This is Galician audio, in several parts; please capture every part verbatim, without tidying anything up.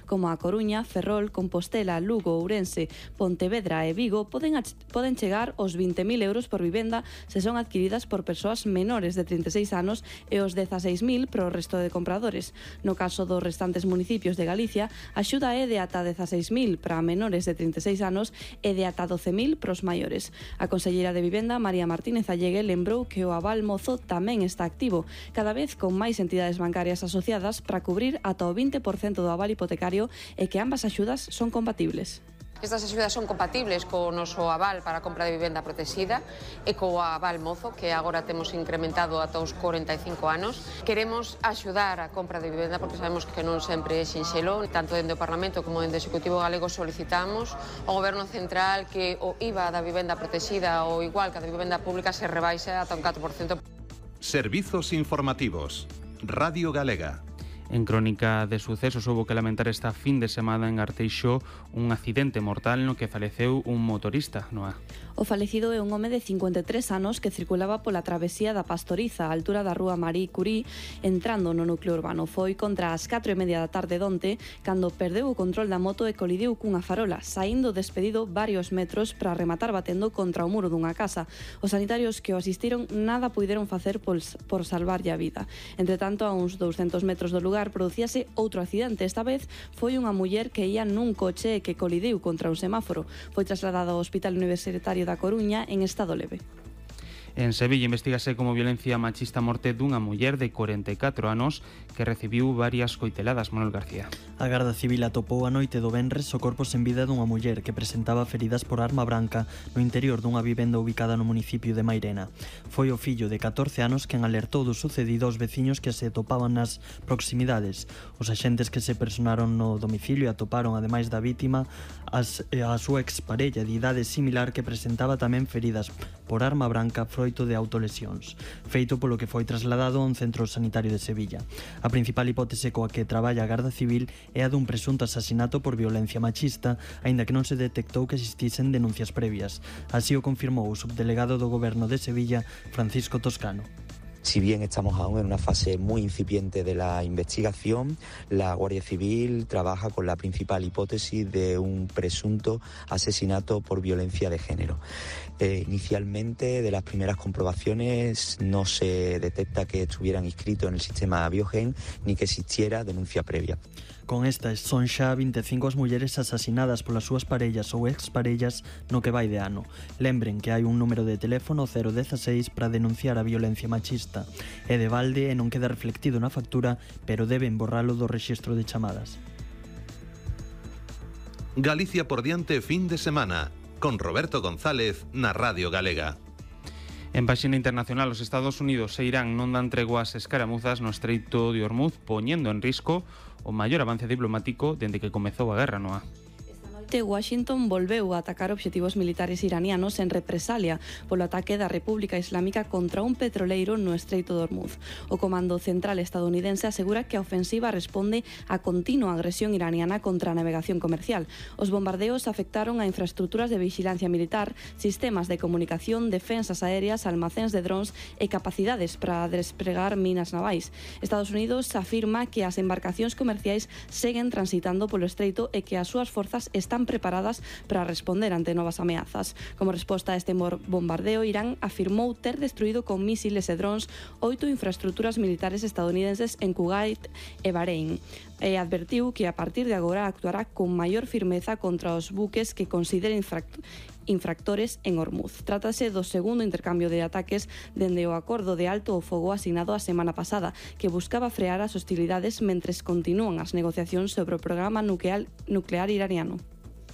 como a Coruña, Ferrol, Compostela, Lugo, Ourense, Pontevedra e Vigo poden, poden chegar aos vinte mil euros por vivenda se son adquiridas por persoas menores de trinta e seis anos e os dezaseis mil para o resto de compradores. No caso dos restantes municipios de Galicia, a axuda é de ata dezaseis mil para menores de trinta e seis anos e de ata doce mil para os maiores. A conselleira de Vivenda, María Martínez Allegue, lembrou que o aval mozo tamén está activo, cada vez con máis entidades bancarias asociadas para cubrir ata o vinte por cento do aval hipotecario e que ambas axudas son compatibles. Estas axudas son compatibles co noso aval para a compra de vivenda protexida e co aval mozo, que agora temos incrementado ata os corenta e cinco anos. Queremos axudar a compra de vivenda porque sabemos que non sempre é sinxelo. Tanto dende o Parlamento como dende o Executivo Galego solicitamos ao Goberno Central que o I V A da vivenda protexida ou igual que a da vivenda pública se rebaixe ata un catro por cento. Servizos informativos. Radio Galega. En crónica de sucesos houbo que lamentar esta fin de semana en Arteixo un accidente mortal no que faleceu un motorista, Noa. O falecido é un home de cincuenta e tres anos que circulaba pola travesía da Pastoriza, á altura da rúa Marie Curie, entrando no núcleo urbano. Foi contra as catro e media da tarde donte, cando perdeu o control da moto e colidiu cunha farola, saindo despedido varios metros para rematar batendo contra o muro dunha casa. Os sanitarios que o asistiron nada puideron facer por, por salvarlle a vida. Entre tanto, a uns douscentos metros do lugar producíase outro accidente. Esta vez foi unha muller que ia nun coche e que colidiu contra un semáforo. Foi trasladada ao Hospital Universitario da Coruña en estado leve. En Sevilla investígase como violencia machista a morte dunha muller de corenta e catro anos que recibiu varias coiteladas. Manuel García. A Garda Civil atopou a noite do venres o corpo sen vida dunha muller que presentaba feridas por arma branca no interior dunha vivenda ubicada no municipio de Mairena. Foi o fillo de catorce anos quen alertou do sucedido aos veciños que se atopaban nas proximidades. Os axentes que se personaron no domicilio atoparon, ademais da vítima, as, a súa exparella de idade similar que presentaba tamén feridas por arma branca froito de autolesións, feito polo que foi trasladado a un centro sanitario de Sevilla. A principal hipótese coa que traballa a Garda Civil é a dun presunto asasinato por violencia machista, aínda que non se detectou que existisen denuncias previas. Así o confirmou o subdelegado do Goberno de Sevilla, Francisco Toscano. Si bien estamos aún en una fase muy incipiente de la investigación, la Guardia Civil trabaja con la principal hipótesis de un presunto asesinato por violencia de género. Eh, inicialmente, de las primeras comprobaciones, no se detecta que estuvieran inscritos en el sistema Biogen ni que existiera denuncia previa. Con estas son xa vinte e cinco as mulleres asasinadas polas súas parellas ou exparellas no que vai de ano. Lembren que hai un número de teléfono cero dieciséis para denunciar a violencia machista. É de balde e non queda reflectido na factura, pero deben borralo do rexistro de chamadas. Galicia por diante fin de semana, con Roberto González na Radio Galega. En páxina internacional, os Estados Unidos e Irán non dan tregua ás escaramuzas no Estreito de Hormuz, poñendo en risco o maior avance diplomático dende que comezou a guerra, Noa. Washington volveu a atacar obxectivos militares iranianos en represalia polo ataque da República Islámica contra un petroleiro no Estreito de Hormuz. O Comando Central estadounidense asegura que a ofensiva responde á continua agresión iraniana contra a navegación comercial. Os bombardeos afectaron a infraestructuras de vigilancia militar, sistemas de comunicación, defensas aéreas, almacéns de drons e capacidades para despregar minas navais. Estados Unidos afirma que as embarcacións comerciais seguen transitando polo estreito e que as súas forzas están preparadas para responder ante novas ameazas. Como resposta a este bombardeo, Irán afirmou ter destruído con mísiles e drons oito infraestructuras militares estadounidenses en Kuwait e Bahrein. E advertiu que a partir de agora actuará con maior firmeza contra os buques que consideren infract infractores en Hormuz. Trátase do segundo intercambio de ataques dende o acordo de alto o fogo asignado a semana pasada, que buscaba frear as hostilidades mentres continúan as negociacións sobre o programa nuclear, nuclear iraniano.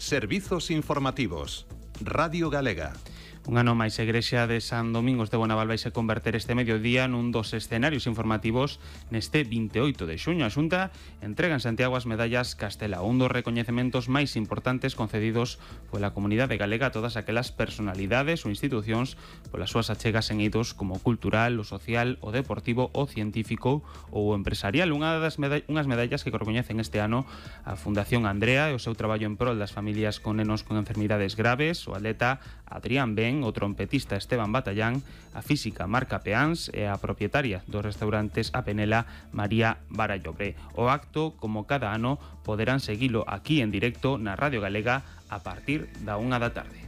Servizos informativos. Radio Galega. Un ano máis, a Igrexa de San Domingos de Bonaval vai se converter este mediodía nun dos escenarios informativos neste vinte e oito de xuño. A Xunta entrega en Santiago as medallas Castela, un dos recoñecementos máis importantes concedidos pola comunidade galega a todas aquelas personalidades ou institucións polas súas achegas en eidos como o cultural, o social, o deportivo, o científico ou o empresarial. Unha das medall- unhas medallas que recoñecen este ano a Fundación Andrea e o seu traballo en prol das familias con nenos con enfermidades graves, o atleta Adrián Ben tamén o trompetista Esteban Batallán, a física Marca Peáns e a propietaria dos restaurantes A Penela, María Barallobre. O acto, como cada ano, poderán seguilo aquí en directo na Radio Galega a partir da unha da tarde.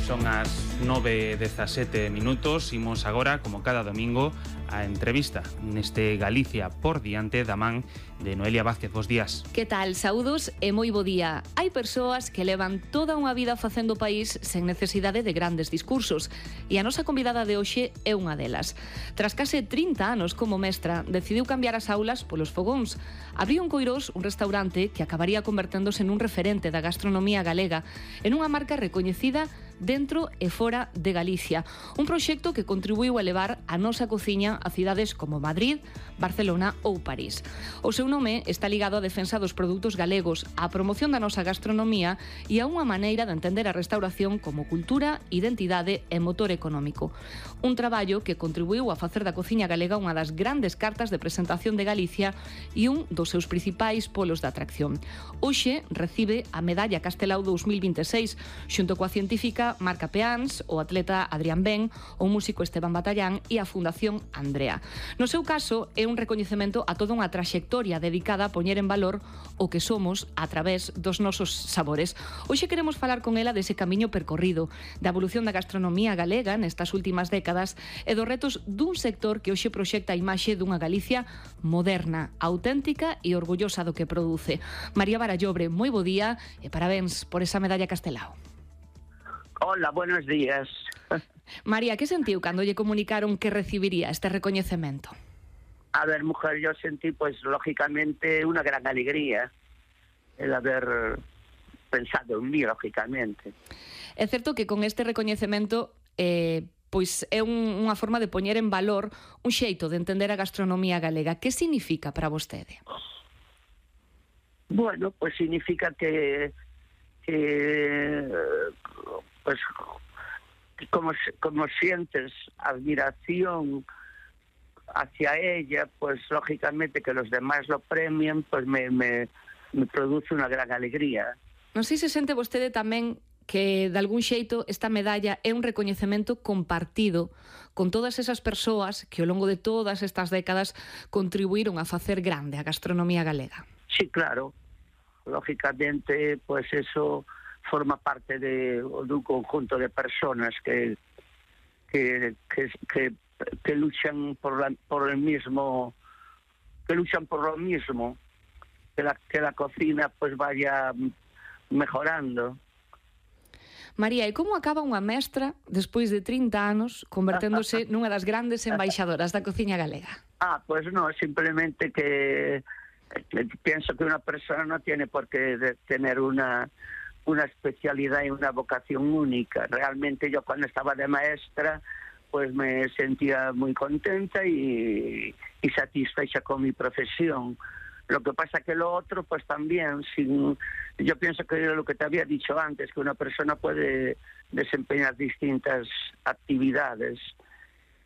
Son as nove e dezasete minutos, imos agora, como cada domingo, a entrevista neste Galicia por diante da man de Noelia Vázquez. Bos días. Que tal? Saúdos e moi bo día. Hai persoas que levan toda unha vida facendo país sen necesidade de grandes discursos e a nosa convidada de hoxe é unha delas. Tras case trinta anos como mestra, decidiu cambiar as aulas polos fogóns. Abriu en Coirós un restaurante que acabaría converténdose nun referente da gastronomía galega, en unha marca recoñecida dentro e fora de Galicia. Un proxecto que contribuiu a elevar a nosa cociña a cidades como Madrid, Barcelona ou París. O seu nome está ligado á defensa dos produtos galegos, á promoción da nosa gastronomía e a unha maneira de entender a restauración como cultura, identidade e motor económico. Un traballo que contribuiu a facer da cociña galega unha das grandes cartas de presentación de Galicia e un dos seus principais polos de atracción. Hoxe recibe a Medalla Castelao dous mil vinte e seis, xunto coa científica Marca Peáns, o atleta Adrián Ben, o músico Esteban Batallán e a Fundación Andrea. No seu caso, é un recoñecemento a toda unha traxectoria dedicada a poñer en valor o que somos a través dos nosos sabores. Hoxe queremos falar con ela dese camiño percorrido, da evolución da gastronomía galega nestas últimas décadas e dos retos dun sector que hoxe proxecta a imaxe dunha Galicia moderna, auténtica e orgullosa do que produce. María Barallobre, moi bo día e parabéns por esa Medalla Castelao. Hola, buenos días. María, que sentiu cando lle comunicaron que recibiría este recoñecemento? A ver, mujer, yo sentí, pues, lógicamente, una gran alegría el haber pensado en mí, lógicamente. É certo que con este recoñecemento eh, pois é un, unha forma de poñer en valor un xeito de entender a gastronomía galega. Que significa para vostede? Bueno, pues significa que, que pues como, como sientes admiración hacia ella, pues lógicamente que los demás lo premien, pues me, me, me produce unha gran alegría. Non sei se sente vostede tamén que de algún xeito esta medalla é un recoñecemento compartido con todas esas persoas que ao longo de todas estas décadas contribuíron a facer grande a gastronomía galega. Sí, claro. Lógicamente, pues eso forma parte de, de un conjunto de personas que que, que, que, que luchan por, la, por el mismo, que luchan por lo mismo, que la, que la cocina pues vaya mejorando. María, e como acaba unha mestra despois de trinta anos converténdose nunha das grandes embaixadoras da cociña galega? Ah, pues no, simplemente que, que pienso que una persona no tiene por qué de tener una una especialidad y una vocación única. Realmente yo cuando estaba de maestra pues me sentía muy contenta y, y satisfecha con mi profesión. Lo que pasa que lo otro pues también, sin, yo pienso que lo que te había dicho antes, que una persona puede desempeñar distintas actividades.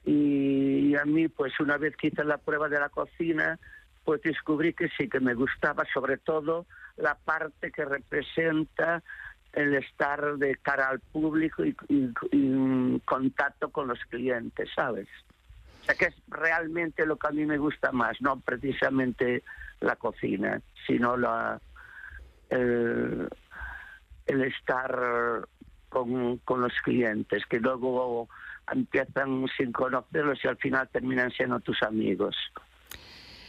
Y a mí pues una vez que hice la prueba de la cocina, pues descubrí que sí, que me gustaba sobre todo la parte que representa el estar de cara al público y, y, y en contacto con los clientes, ¿sabes? O sea, que es realmente lo que a mí me gusta más, no precisamente la cocina, sino la el, el estar con, con los clientes, que luego empiezan sin conocerlos y al final terminan siendo tus amigos.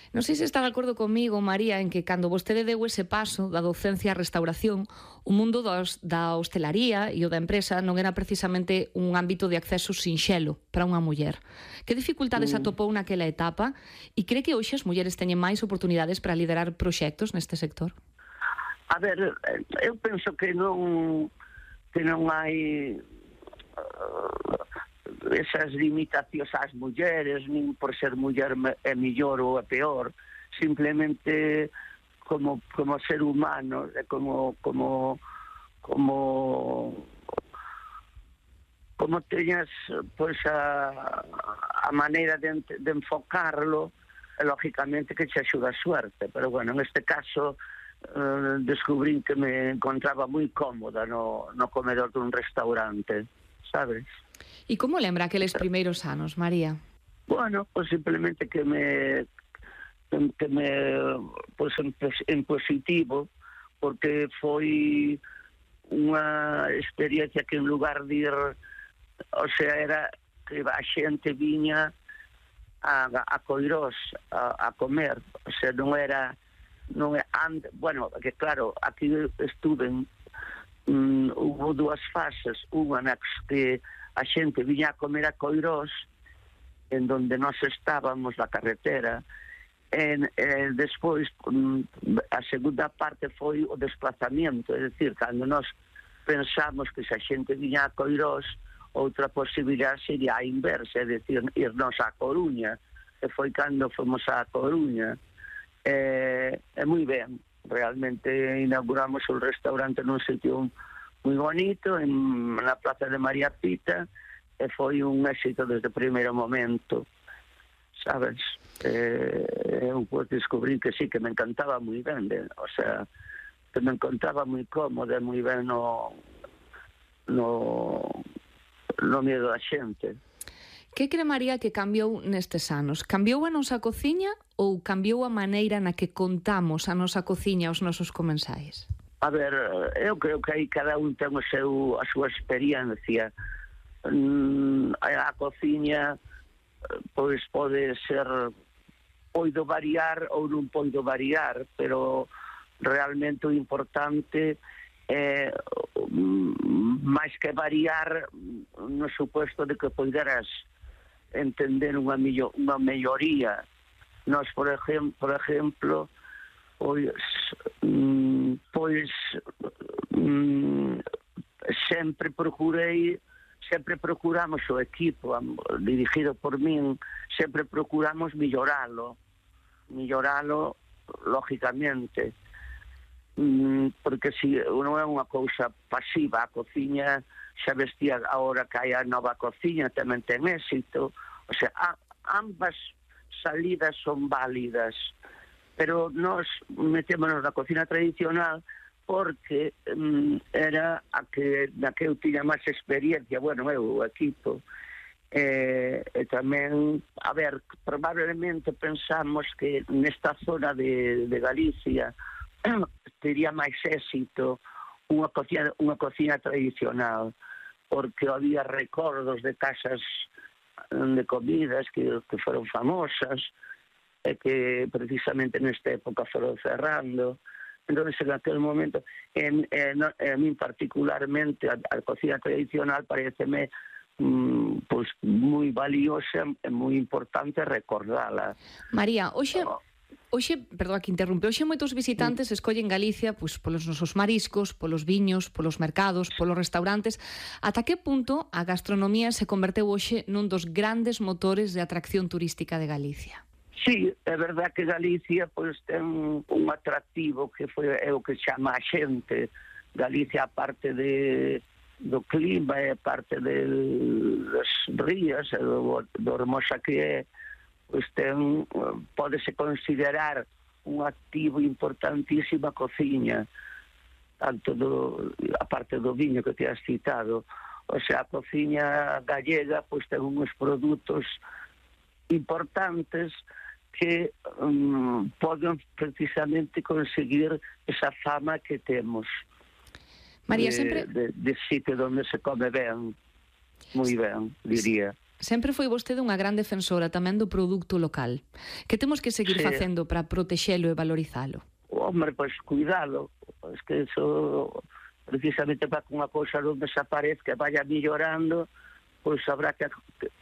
Non sei se está de acordo comigo, María, en que cando vostede deu ese paso da docencia á restauración, o mundo dos, da hostelaría e o da empresa non era precisamente un ámbito de acceso sinxelo para unha muller. Que dificultades mm. atopou naquela etapa e cree que hoxe as mulleres teñen máis oportunidades para liderar proxectos neste sector? A ver, eu penso que non que non hai esas limitacións ás mulleres, nin por ser muller é mellor ou é peor, simplemente como como ser humano, como como como como teñas pois a, a maneira de, de enfocarlo, lógicamente que che axuda a suerte, pero bueno, en este caso uh, descubrín que me encontraba moi cómoda no, no comedor dun restaurante, sabes? E como lembra aqueles primeiros anos, María? Bueno, pues simplemente que me que me pues en, en positivo, porque foi unha experiencia que en lugar de ir, o sea, era que a xente viña a, a Coirós a, a comer, o sea, non era non é and, bueno, que claro, aquí estuve um, hubo dúas fases, unha na que a xente viña a comer a Coirós, en donde nós estábamos na carretera, en, eh, despois um, a segunda parte foi o desplazamiento, é dicir, cando nós pensamos que se a xente viña a Coirós, outra posibilidade sería a inversa, é dicir, irnos a Coruña, e foi cando fomos a Coruña. É, é moi ben, realmente inauguramos un restaurante nun sitio moi bonito, en, na Plaza de María Pita, e foi un éxito desde o primeiro momento, sabes? Eh, eu pues, descubrí que sí, que me encantaba moi ben, de, o sea, que me encontraba moi cómoda, moi ben no, no, no miedo da xente. Que cree María que cambiou nestes anos? Cambiou a nosa cociña ou cambiou a maneira na que contamos a nosa cociña aos nosos comensais? A ver, eu creo que aí cada un ten o seu, a súa experiencia. A cociña pois pode ser, poido variar ou non poido variar, pero realmente o importante é máis que variar no suposto de que poideras entender unha, millo, unha melloría. Nós, por exemplo, por exemplo pois, pois sempre procurei sempre procuramos o equipo dirigido por min, sempre procuramos milloralo, milloralo lógicamente, porque si non é unha cousa pasiva, a cociña xa vestía agora que hai a nova cociña, tamén ten éxito, o sea, a, ambas salidas son válidas, pero nós metémonos na cociña tradicional porque um, era a que na que eu tiña máis experiencia, bueno, eu, o equipo, e, e tamén, a ver, probablemente pensamos que nesta zona de, de Galicia tería máis éxito unha cociña, unha cociña tradicional, porque había recordos de casas de comidas que, que foron famosas e que precisamente nesta época foron cerrando. Entón, en aquel momento, en, en, en min particularmente, a, a cocina tradicional pareceme mm, pues, moi valiosa e moi importante recordala. María, hoxe... Hoxe, perdón, que interrumpe, hoxe moitos visitantes escollen Galicia pois, polos nosos mariscos, polos viños, polos mercados, polos restaurantes. Ata que punto a gastronomía se converteu hoxe nun dos grandes motores de atracción turística de Galicia? Sí, é verdad que Galicia pois, ten un atractivo que foi é o que chama a xente. Galicia, aparte de, do clima, é parte de, das rías, do, do hermosa que é, pois ten, pódese considerar un activo importantísimo a cociña, tanto do, a parte do viño que te has citado. O sea, a cociña gallega pois ten uns produtos importantes que um, poden precisamente conseguir esa fama que temos. María, de, sempre... de, de sitio onde se come ben, moi ben, diría. Sempre foi vostede unha gran defensora tamén do produto local. Que temos que seguir sí. facendo para protexelo e valorizalo? Hombre, pois pues, cuidalo. Es que eso, precisamente para que unha cousa non desaparezca, vaya mellorando, pois pues, habrá que,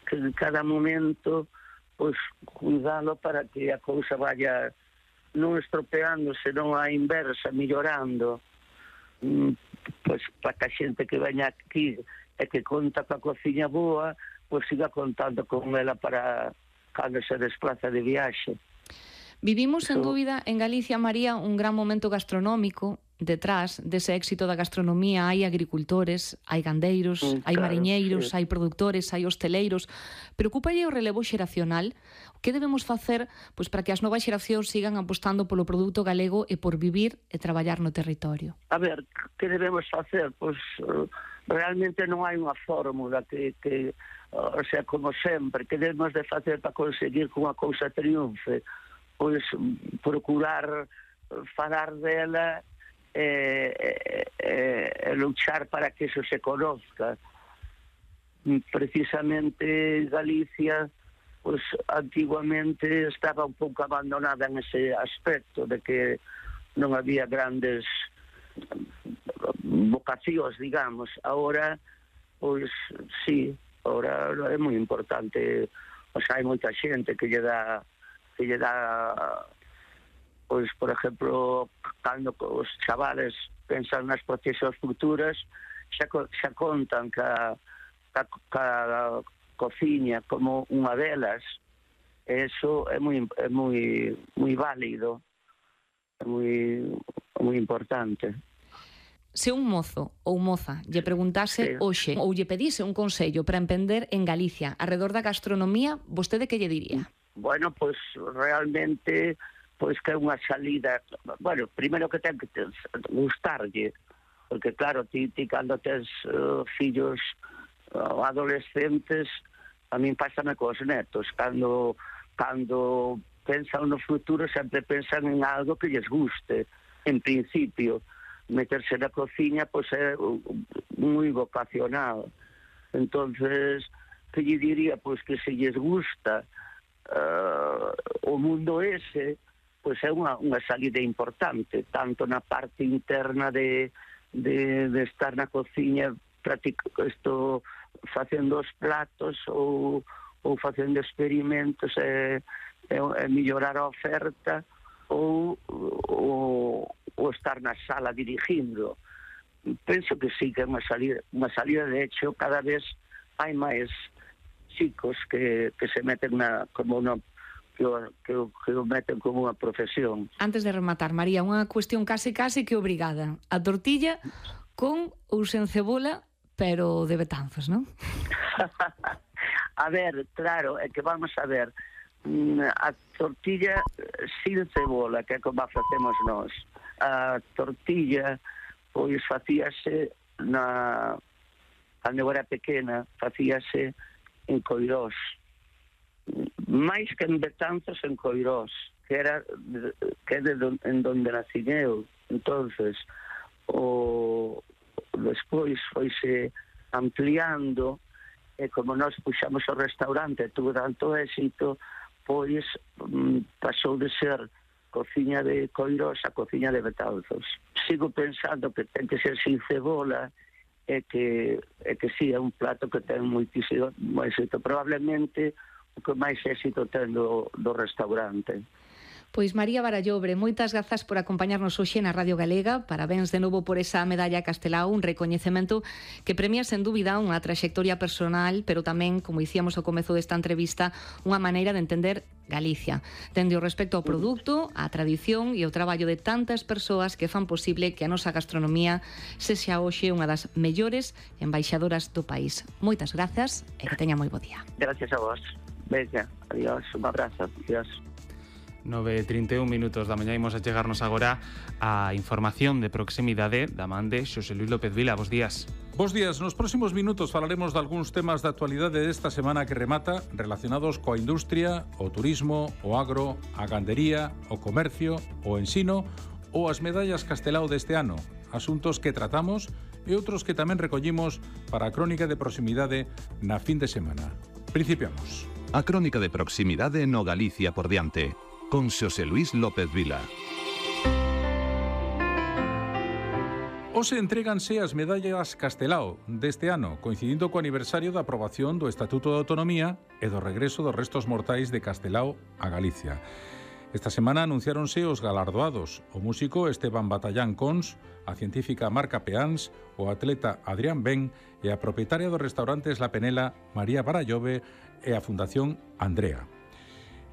que en cada momento pois pues, cuidalo para que a cousa vaya non estropeando, senón a inversa, mellorando. Pois pues, para que a xente que veña aquí e que conta coa cociña boa, pois siga contando con ela para cando se desplaza de viaxe. Vivimos, sen dúbida, en Galicia, María, un gran momento gastronómico, detrás dese éxito da gastronomía hai agricultores, hai gandeiros, Mm, hai claro, mariñeiros, sí. hai produtores, hai hosteleiros. Preocúpalle o relevo xeracional? Que debemos facer pois, para que as novas xeracións sigan apostando polo produto galego e por vivir e traballar no territorio? A ver, que debemos facer? Pois uh, realmente non hai unha fórmula que, que uh, o sea, como sempre, que debemos de facer para conseguir que unha cousa triunfe? Pois procurar falar dela e, e, e luchar para que eso se conozca. Precisamente Galicia, pues antiguamente estaba un pouco abandonada en ese aspecto de que non había grandes vocacións, digamos. Ahora, pois sí, ahora é moi importante. O sea, hai moita xente que lle dá que lle dá pois, por exemplo, cando os chavales pensan nas profesións futuras, xa, xa contan que a, que, que a cociña como unha delas. Eso é moi é moi moi válido, é moi moi importante. Se un mozo ou moza lle preguntase Sí. hoxe ou lle pedise un consello para emprender en Galicia arredor da gastronomía, vostede que lle diría? Bueno, pois realmente pois que é unha salida, bueno, primeiro que ten que te, gustarlle, porque claro, ti, ti cando tens uh, fillos uh, adolescentes, a min pásame cos netos, cando cando pensan no futuro sempre pensan en algo que lles guste, en principio. Meterse na cociña pois é moi vocacional. Entonces, que lle diría? Pois que se lles gusta uh, o mundo ese, pois é unha, unha salida importante, tanto na parte interna de, de, de estar na cociña isto, facendo os platos ou, ou facendo experimentos e, e, e mellorar a oferta ou, ou, ou estar na sala dirigindo. Penso que sí, que é unha salida, unha salida. De hecho, cada vez hai máis chicos que, que se meten na, como unha que o, que, o, que o meten como unha profesión. Antes de rematar, María, unha cuestión case case que obrigada. A tortilla con ou sen cebola, pero de Betanzos, non? A ver, claro, é que vamos a ver, a tortilla sin cebola, que é como a facemos nós. A tortilla, pois, facíase na... Cando eu era pequena, facíase en Coirós. máis que en Betanzos, en Coirós, que era que é de don, en donde nací eu. Entonces, o despois foise ampliando, e como nós puxamos o restaurante, tuvo tanto éxito, pois pasou de ser cociña de Coirós a cociña de Betanzos. Sigo pensando que ten que ser sin cebola, e que, e que sí, é un plato que ten moitísimo éxito. Probablemente o que máis éxito ten do, do restaurante. Pois María Barallobre, moitas grazas por acompañarnos hoxe na Radio Galega. Parabéns de novo por esa medalla Castelao, un recoñecemento que premia sen dúbida unha traxectoria personal, pero tamén, como dicíamos ao comezo desta entrevista, unha maneira de entender Galicia. Dende o respecto ao produto, á tradición e ao traballo de tantas persoas que fan posible que a nosa gastronomía sexa hoxe unha das mellores embaixadoras do país. Moitas grazas e que teña moi bo día. Gracias a vos. Venga, adiós, un abrazo, adiós. nove e trinta e un minutos da mañá, imos a chegarnos agora a información de proximidade da man de Xosé Luis López Vila. Bos días. Bos días. Nos próximos minutos falaremos de algúns temas de actualidade desta semana que remata relacionados coa industria, o turismo, o agro, a gandería, o comercio, o ensino ou as medallas Castelao deste ano. Asuntos que tratamos e outros que tamén recollimos para a crónica de proximidade na fin de semana. Principiamos. A crónica de proximidade no Galicia por diante, con Xosé Luis López Vila. Hoxe entréganse as medallas Castelao deste ano, coincidindo co aniversario da aprobación do Estatuto de Autonomía e do regreso dos restos mortais de Castelao a Galicia. Esta semana anunciáronse os galardoados, o músico Esteban Batallán Cons, a científica Marca Peáns, o atleta Adrián Ben e a propietaria dos restaurantes La Penela, María Barallove, e a Fundación Andrea.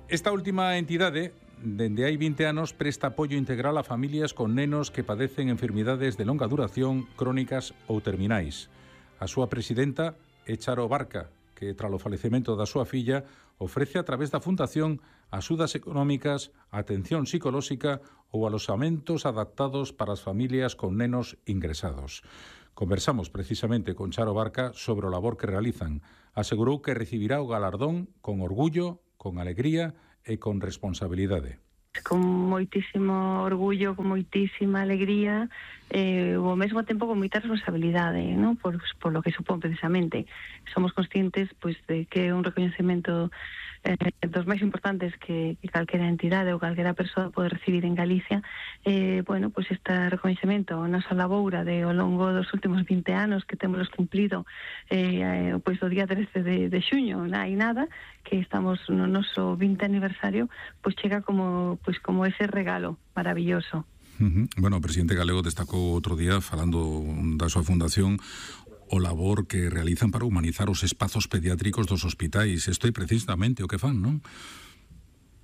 Esta última entidade dende hai vinte anos, presta apoio integral a familias con nenos que padecen enfermidades de longa duración, crónicas ou terminais. A súa presidenta é Charo Barca, que, tras o falecemento da súa filla, ofrece a través da Fundación axudas económicas, atención psicolóxica ou aloxamentos adaptados para as familias con nenos ingresados. Conversamos precisamente con Charo Barca sobre o labor que realizan. Asegurou que recibirá o galardón con orgullo, con alegría e con responsabilidade. Con moitísimo orgullo, con moitísima alegría e eh, ao mesmo tempo con moita responsabilidade, ¿no? por, por lo que supón precisamente. Somos conscientes pues, de que é un recoñecemento eh, dos máis importantes que, que calquera entidade ou calquera persoa pode recibir en Galicia. Eh, bueno, pues este recoñecemento a nosa laboura de ao longo dos últimos vinte anos que temos cumplido eh, pues, o día trece de, de xuño, non hai nada, que estamos no noso vinte aniversario, pues chega como, pues, como ese regalo maravilloso. Uh-huh. Bueno, o presidente galego destacou outro día, falando da súa fundación, o labor que realizan para humanizar os espazos pediátricos dos hospitais. Isto é precisamente o que fan, non?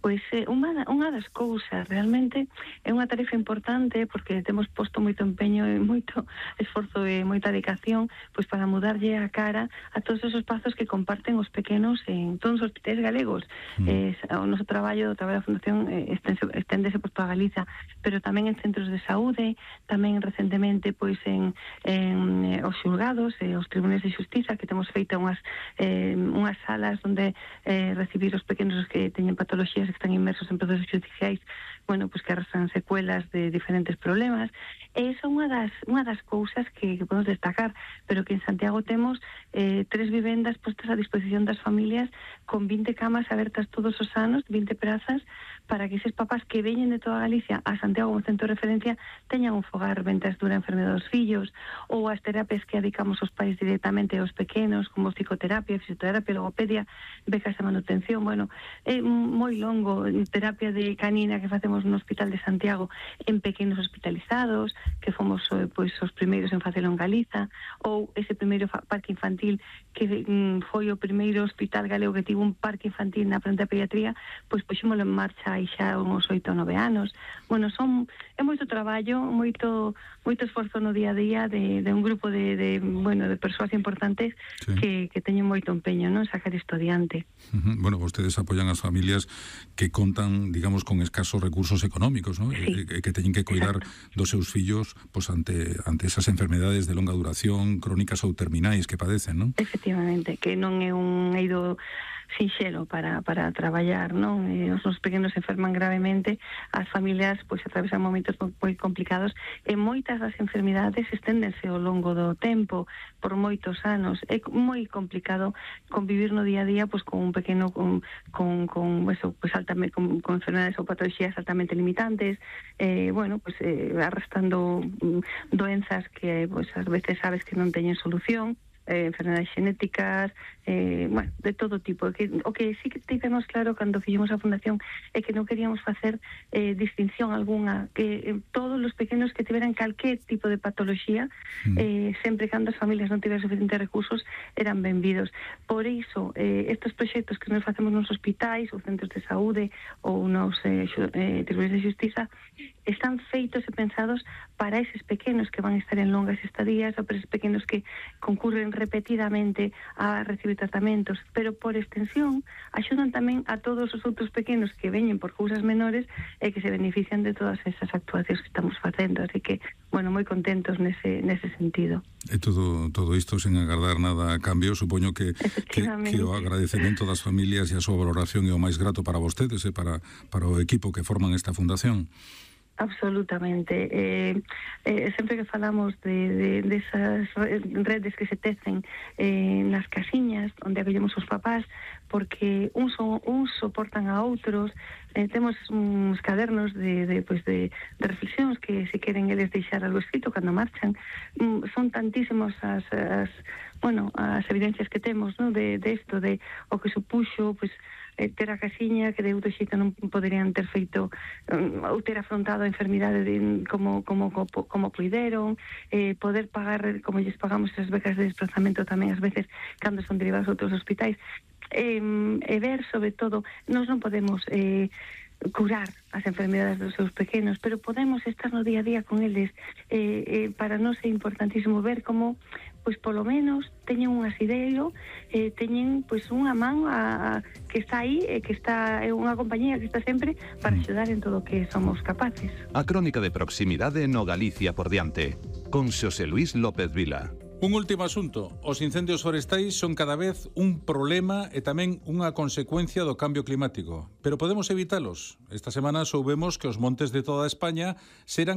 Pois eh, unha, unha das cousas, realmente é unha tarefa importante porque temos posto moito empeño e moito esforzo e moita dedicación pois para mudarlle a cara a todos esos espazos que comparten os pequenos en todos os hospitais galegos. Mm. Eh, o noso traballo, o traballo da Fundación eh, esténdese por toda Galiza, pero tamén en centros de saúde, tamén recentemente pois en, en eh, os xulgados e eh, os tribunais de xustiza, que temos feito unhas, eh, unhas salas onde eh, recibir os pequenos que teñen patologías que están inmersos en procesos judiciais, bueno, pues que arrastran secuelas de diferentes problemas. E iso é unha das, unha das cousas que, que podemos destacar, pero que en Santiago temos eh, tres vivendas postas a disposición das familias con vinte camas abertas todos os anos, vinte prazas, para que eses papás que veñen de toda Galicia a Santiago como centro de referencia teñan un fogar ventas dura enfermedade dos fillos, ou as terapias que adicamos aos pais directamente aos pequenos, como psicoterapia, fisioterapia, logopedia, becas de manutención, bueno, é moi longo, terapia de canina que facemos no Hospital de Santiago en pequenos hospitalizados, que fomos pois os primeiros en facelo en Galiza, ou ese primeiro parque infantil que mm, foi o primeiro hospital galego que tivo un parque infantil na frente da pediatría, pois puxémolo en marcha hai xa uns oito ou nove anos. Bueno, son é moito traballo, moito moito esforzo no día a día de, de un grupo de, de bueno, de persoas importantes sí. que, que teñen moito empeño, non, sacar isto adiante. Uh-huh. Bueno, vostedes apoian as familias que contan, digamos, con escasos recursos económicos, ¿no? Sí. E, e que teñen que cuidar Exacto. dos seus fillos pues, ante, ante esas enfermedades de longa duración, crónicas ou terminais que padecen, non? Efectivamente, que non é un eido sinxelo para, para traballar, non? E os nosos pequenos se enferman gravemente, as familias pois atravesan momentos moi complicados e moitas das enfermidades esténdense ao longo do tempo, por moitos anos. É moi complicado convivir no día a día pois con un pequeno con con con eso, pois altamente con, con enfermedades ou patologías altamente limitantes, eh bueno, pois eh, arrastrando mm, doenzas que pois ás veces sabes que non teñen solución. Eh, enfermedades xenéticas, eh, bueno, de todo tipo. Que, o que sí que tivemos claro cando fixemos a fundación é que non queríamos facer eh, distinción algunha, que eh, todos os pequenos que tiveran calquer tipo de patología, mm. eh, sempre cando as familias non tiveran suficientes recursos, eran benvidos. Por iso, eh, estes proxectos que nos facemos nos hospitais, ou centros de saúde, ou nos eh, eh, tribunais de xustiza, están feitos e pensados para eses pequenos que van a estar en longas estadías, ou para eses pequenos que concurren repetidamente a recibir tratamentos, pero por extensión axudan tamén a todos os outros pequenos que veñen por cousas menores e que se benefician de todas esas actuacións que estamos facendo, así que, bueno, moi contentos nese, nese sentido. E todo, todo isto sen agardar nada a cambio, supoño que, que, que o agradecemento das familias e a súa valoración é o máis grato para vostedes e para, para o equipo que forman esta fundación. Absolutamente. Eh, eh, sempre que falamos de, de, de esas redes que se tecen eh, nas casiñas onde acollemos os papás, porque uns, son, uns soportan a outros, eh, temos uns cadernos de, de, pues de, de reflexións que se queren eles deixar algo escrito cando marchan. Mm, son tantísimos as, as, bueno, as evidencias que temos, ¿no? de, de esto, de o que supuxo, pues, ter a casiña que de outro xeito non poderían ter feito um, ou ter afrontado a enfermidade de, como, como, como, como puideron, eh, poder pagar como lles pagamos as becas de desplazamento tamén ás veces cando son derivados a outros hospitais, eh, e ver sobre todo, nós non podemos eh, curar as enfermedades dos seus pequenos, pero podemos estar no día a día con eles. Eh, eh, para nós é importantísimo ver como, pois polo menos teñen un asideiro, eh, teñen pois unha man a, a, que está aí, e que está é unha compañía que está sempre para axudar en todo o que somos capaces. A crónica de proximidade no Galicia por diante, con Xosé Luis López Vila. Un último asunto. Os incendios forestais son cada vez un problema e tamén unha consecuencia do cambio climático. Pero podemos evitalos. Esta semana soubemos que os montes de toda España serán